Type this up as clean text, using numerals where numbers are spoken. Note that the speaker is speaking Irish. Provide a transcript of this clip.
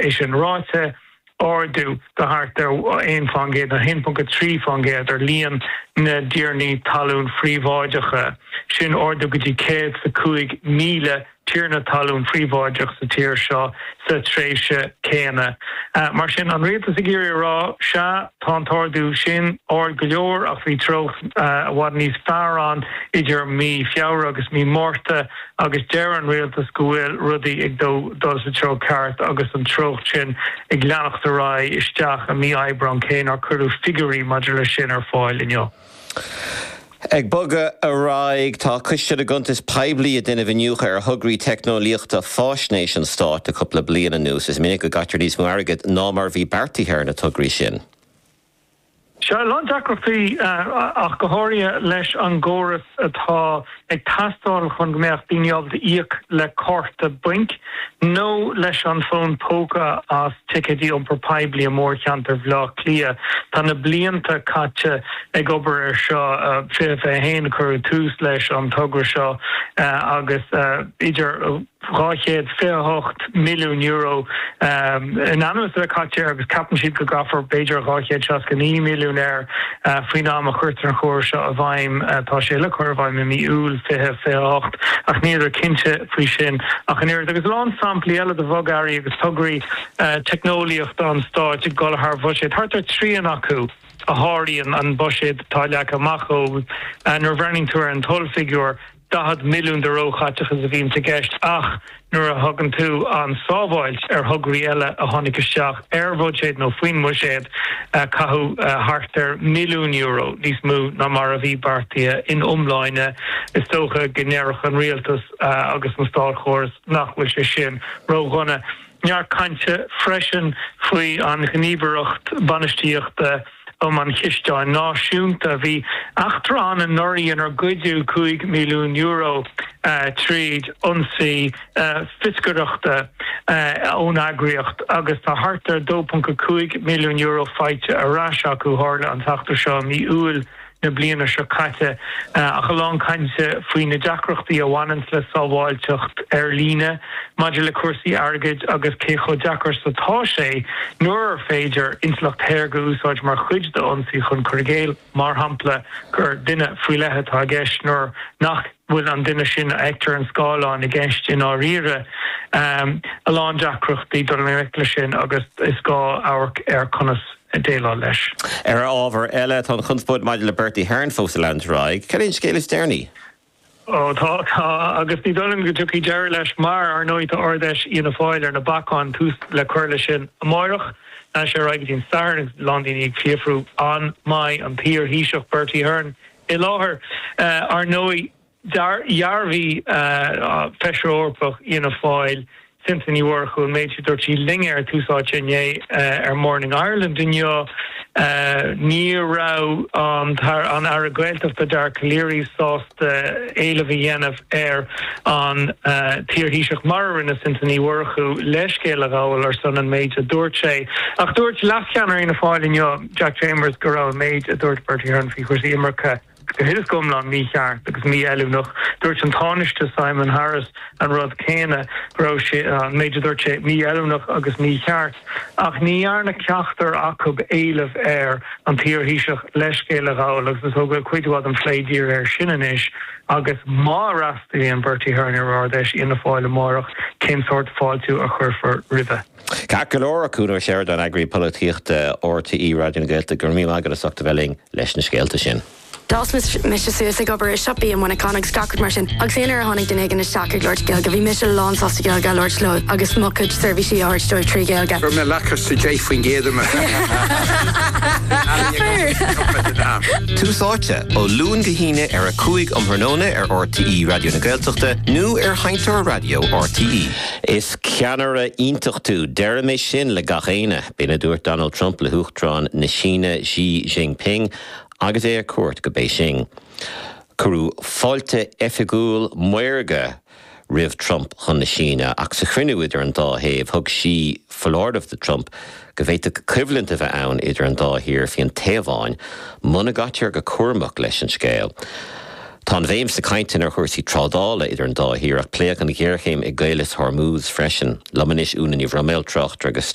É sin ráite, ardú de thart ar 1% nó 1.3% ar líon na dtiarnaí talún phríobháideacha, sin ardú go dtí 105,000 tiarna talún phríobháideach sa tír seo sa tréimhse céanna. Mar sin, an rialtas ag iarraidh a rá, sea, tá an t-ardú sin ard go leor ach bhí treocht i bhfad níos fearr ann idir mí Feabhra agus mí Márta agus deir an rialtas go bhfuil rudaí ag dul sa treo ceart agus an treocht sin ag leanacht ar aghaidh isteach i mí Aibreán cé nár cuireadh figiúirí maidir leis sin ar fáil inniu. Ag bogadh ar aghaidh, tá Coiste na gCuntas Poiblí ag déanamh iniúchadh ar thograí teicneolaíochta faisnéise an stáit le cúpla bliain anuas. Is minic go gcaitear níos mó airgid ná mar a bhí beartaithe ar na tograí sin. Sea, a lán deacrachtaí ach go háirithe leis an gcóras atá ag teastáil chun go mbeadh daoine ábalta íoc le cárta bainc nó leis an bhfón póca as ticéidí iompar poiblí i mórcheantar Bhaile Átha Cliath. Tá na blianta caite ag obair air seo, 2021 a cuireadh tús leis an togra seo agus idir €228 milliún in ainm is a bheith caite air agus ceapann siad go gcaithfear b'fhéidir 269 milliún air faoin am a chuirtear an chóras seo i bhfeidhm. Tá sé le cur i bhfeidhm i mí Iúil 2028 ach níleadar cinnte faoi sin ach an oiread. Agus a lán samplaí eile de bhogearraí agus tograí teicneolaíochta an stáit ag dul thar bhuiséad, thart ar thrian acu a sháraíonn an buiséad atá leagtha amach dóibh. Nuair a bhreathnaíonn tú ar an ollfhigiúr, 40 milliún de róchaiteachas a bhíonns i gceist ach nuair a thugann tú an sábháilt ar thograí eile a tháinig isteach ar bhuiséad nó faoin mbuiséad, caitheadh thart ar mhilliún euro níos mó ná mar a bhí beartaithe in iomláine. Is dócha go ndéarfadh an rialtas agus an státchóras nach bhfuil sé sin ródhona. Neart cainte freisin faoi an Ghníomhaireacht Bainistíochta um an Chisteáin Náisiúnta. Bhí eachtra ann anuraidh inar goideadh €5 milliún tríd ionsaí fioscaireachta ón eagraíocht agus tá thart ar €2.5 milliún faighte ar ais acu. Tharla an t-eachtra seo i mí Iúil na bliana seo caite, ach a lán cainte faoi na deacrachtaí a bhaineanns le sábháilteacht ar líne maidir le cúrsaí airgid agus cé chomh deacair is atá sé nuair ar féidir intleacht shaorga a úsáid mar chuid d'ionsaí chun cur i gcéill, mar shampla, gur duine faoi leith atá i gceist nuair nach bhfuil an duine sin a fheictear ar an scáileán i gceist i ndáiríre. A lán deacrachtaí dul i ngleic leis sin agus is gá amharc ar conas déileáil leis. Ar ábhar eile, tá an chonspóid maidir le Bertie Ahern fós ag leanúint ar aghaidh. Cad é an scéal is deireanaí? Ó tá, tá, agus ní dóigh liom go dtiocfaidh deireadh leis mar, ar ndóigh, tá Ard-Fheis Fhianna Fáil ar na bacáin, tús le cur leis sin amáireach. Leanfaidh sé ar aghaidh go dtí an Satharn agus a lán daoine ag fiafrú an mbeidh an t-iar-Thaoiseach Bertie Ahern i láthair. Ar ndóigh, Dhearbhaigh Feisire Eorpach Fhianna Fáil, Cynthia Ní Mhurchú, an méid sin a dúirt sí linne ar Tús Áite inné ar Morning Ireland inniu. Ní raibh an Aire Gaeltachta Dara Calleary sásta éileamh a dhéanamh ar an t-iar-Thaoiseach mar a rinne Cynthia Ní Mhurchú leithscéal a ghabháil ar son an méid a dúirt sé. Ach dúirt leascheannaire Fhianna Fáil inniu, Jack Chambers, go raibh an méid a dúirt Bertie Ahern faoi chúrsaí imirce, go huile is go hiomlán mícheart agus mífheiliúnach. Dúirt an Tánaiste Simon Harris an rud céanna, go raibh sé, an méid a dúirt sé, mífheiliúnach agus mícheart. Ach ní dhearna ceachtar acu éileamh ar an t-iar-Thaoiseach leithscéal a ghabháil agus is dócha go bhfuil cuid mhaith den phlé dírithe air sin anois agus má fhreastalaíonn Bertie Ahern ar Ard-Fheis Fhianna Fáil amárach, cén sórt fáiltiú a chuirfear roimhe? Ceart go leor, a Cuan Ó Seireadáin, Eagraí Polaitíochta RTÉ Raidió na Gaeltachta, go raibh míle maith agat as ucht a bheith linn leis na scéalta sin. D'fhás mise suas ag obair i siopaí i Muineachán agus gach rud mar sin agus aon uair a tháinig duine éigin isteach ag labhairt Gaeilge bhí mise lán sásta Gaeilge a labhairt leo agus mo chuid seirbhísí a thabhairt dóibh trí Ghaeilge. Chuir mé lacáiste 10% ar mo Tús Áite, ó Luan go hAoine ar 5 um thráthnóna ar RTÉ Raidió na Gaeltachta nó ar Sheinnteoir Raidió RTÉ. Is ceannaire iontach tú, deirim é sin le gach éinne, b'in a dúirt Donald Trump le hUachtarán na Síne Xi Jinping agus é ar cuairt go Béising. Cuireadh fáilte oifigiúil maorga roimh Trump chun na Síne ach sa chruinniú idir an dá thaobh thug Xi foláireamh do Trump go bhféadfadh coimhlint a bheith ann idir an dá thír faoin Téaváin muna gcaitear go cúramach leis an scéal. Tá an bhéim sna cainteanna ar chúrsaí trádála idir an dá thír ach pléadh an ghéarchéim i gCaolas Hormuz freisin. Liom anois Úna Ní Bhroiméil, tráchtaire agus.